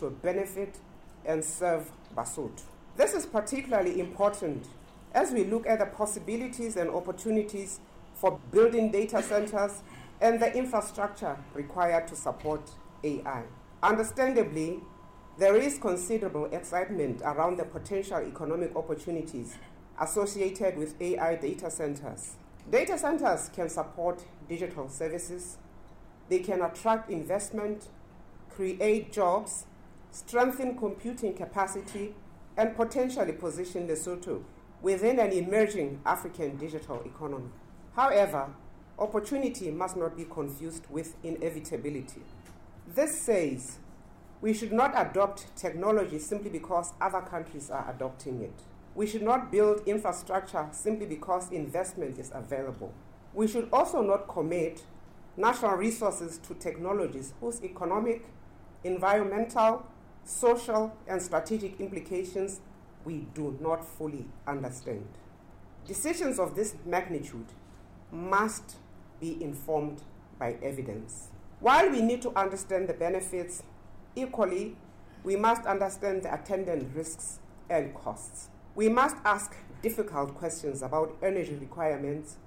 to benefit and serve Basotho. This is particularly important as we look at the possibilities and opportunities for building data centers and the infrastructure required to support AI. Understandably, there is considerable excitement around the potential economic opportunities associated with AI data centers. Data centers can support digital services, they can attract investment, create jobs, strengthen computing capacity, and potentially position Lesotho within an emerging African digital economy. However, opportunity must not be confused with inevitability. This says we should not adopt technology simply because other countries are adopting it. We should not build infrastructure simply because investment is available. We should also not commit national resources to technologies whose economic, environmental, social, and strategic implications we do not fully understand. Decisions of this magnitude must be informed by evidence. While we need to understand the benefits, equally, we must understand the attendant risks and costs. We must ask difficult questions about energy requirements,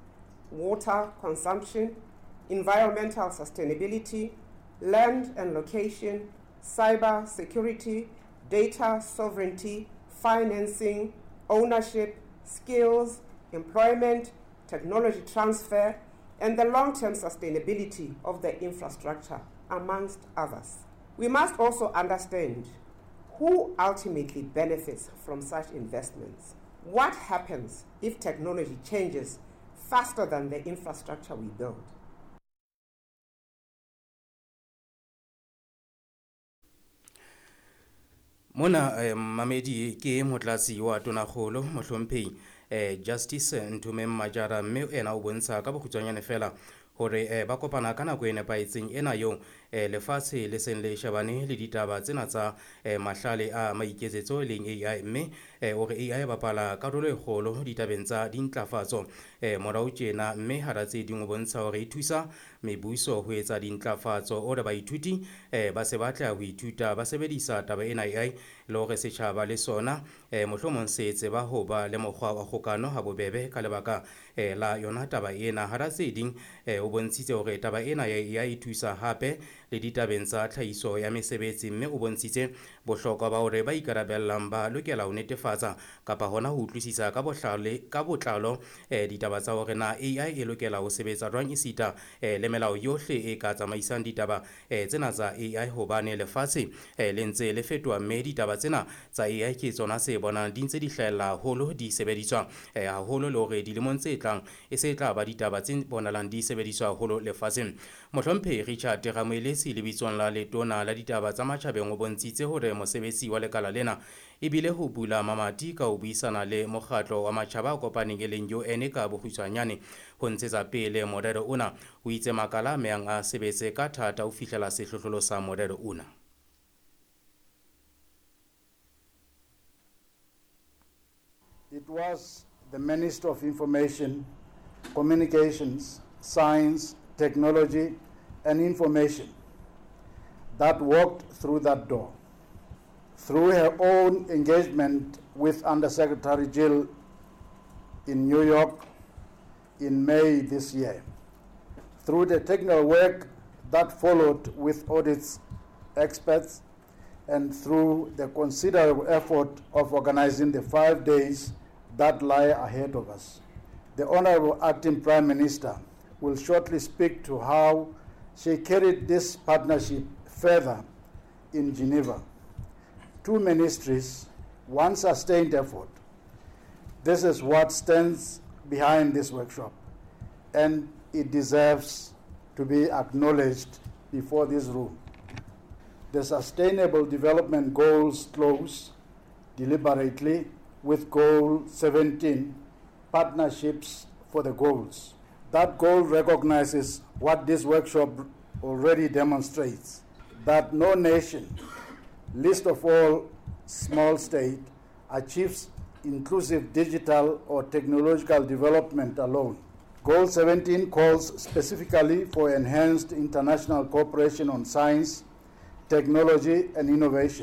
water consumption, environmental sustainability, land and location, cyber security, data sovereignty, financing, ownership, skills, employment, technology transfer, and the long-term sustainability of the infrastructure, amongst others. We must also understand who ultimately benefits from such investments. What happens if technology changes faster than the infrastructure we build? Mona mamedi ke motlatsi wa tonakgolo mohlomphehi Justice Nthomeng Majara, mme ena o bontsha ka bokgutshwanyane fela hore ba kopana ka nako e nepahetseng ena eo lefatshe le seng le shebane le ditaba tsena tsa mahlale a maiketsetso e leng AI, mme o re AI e bapala karolo e kgolo ditabeng tsa dintlafatso morao tjena, mme hara tse ding o bontsha hore e thusa mebuso ho etsa dintlafatso. O re baithuti ba se batla ho ithuta ba sebedisa taba ena AI, le hore setjhaba le sona mohlomong se tseba ho ba le mokgwa wa kgokano ha bobebe ka lebaka la yona taba ena. Hara tse ding o bontshitse hore taba ena ya e thusa hape le ditabeng tsa tlhahiso ya mesebetsi, mme o bontshitse bohlokwa ba hore ba ikarabellang ba lokela ho netefatsa kapa hona ho utlwisisa ka bohlale ka botlalo ditaba tsa hore na AI e lokela ho sebetsa jwang, esita le melao yohle e ka tsamaisang ditaba tsena tsa AI, hobane lefatshe le ntse le fetoha, mme ditaba tsena tsa AI ke tsona tse bonang di ntse di hlahella haholo, di sebediswa haholo, le hore dilemong tse tlang e se tla ba ditaba tse bonalang di sebediswa haholo lefatsheng. Mohlomphehi Richard Ramoeletsi lebitsong la letona la ditaba tsa matjhabeng o bontshitse hore mosebetsi wa lekala lena ebile ho bula mamati ka ho buisana le mokgatlo wa matjhaba a kopaneng e leng UN ka bokgutshwanyane ho ntshetsa pele morero ona. O itse makala a mehang a sebetse ka thata ho fihlela sehlohlolo sa morero ona. It was the Minister of Information, Communications, Science, Technology and Information that walked through that door. Through her own engagement with Undersecretary Gill in New York in May this year, through the technical work that followed with audits experts, and through the considerable effort of organizing the 5 days that lie ahead of us. The Honorable Acting Prime Minister will shortly speak to how she carried this partnership further in Geneva. 2 ministries, 1 sustained effort. This is what stands behind this workshop, and it deserves to be acknowledged before this room. The Sustainable Development Goals close deliberately with Goal 17, Partnerships for the Goals. That goal recognizes what this workshop already demonstrates, that no nation, least of all small state, achieves inclusive digital or technological development alone. Goal 17 calls specifically for enhanced international cooperation on science, technology, and innovation.